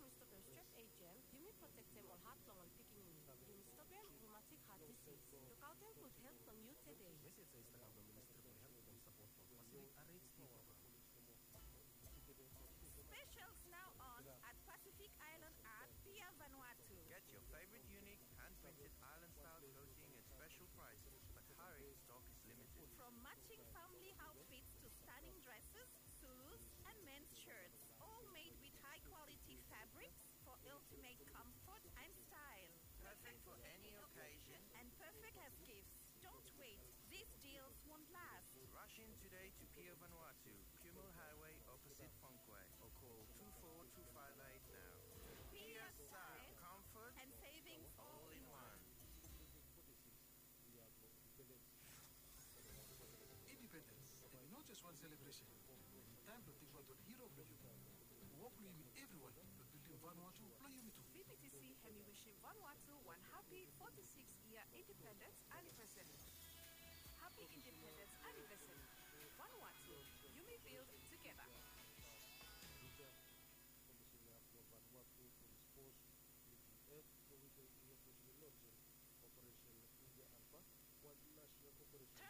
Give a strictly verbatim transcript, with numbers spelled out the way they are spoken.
Yumi stopem strep ejel, yumi protektem ol hat blong ol pikinini, yumi stopem rheumatic heart disease. Lukaotem gud helt blong yu tede. Message ya i stap kam from Ministry blong Helt and Sapot blong Pacific R H T Program. Specials now on at Pacific Island at Pier Vanuatu. Get your favorite unique hand-printed island-style clothing at special prices, but hurry, stock is limited. From matching family outfits to stunning dresses, suits, and men's shirts, all made with high-quality fabrics for ultimate comfort and style. Perfect for any occasion and perfect as gifts. Don't wait. These deals won't last. Rush in today to Pier Vanuatu, Kumul Highway, opposite Funquay, or call two four two five eight now. Pier style, comfort, and savings all in one. Independence hemi no jes wan selebresen. Hemi taem blong tingbaot ol hero blong yumi. Wok blong yumi evriwan blong bildim Vanuatu blong yumi tu. B P T C hemi wishim Vanuatu wan hapi forty-six yia independence anivesari. Hapi independence anivesari. Vanuatu, yumi build tugeta. Komisena blong Vanuatu blong Spos, Niu Gilini, Norwejian, i opos long lonjen Operesen India Alpha, wan nasenal operesen.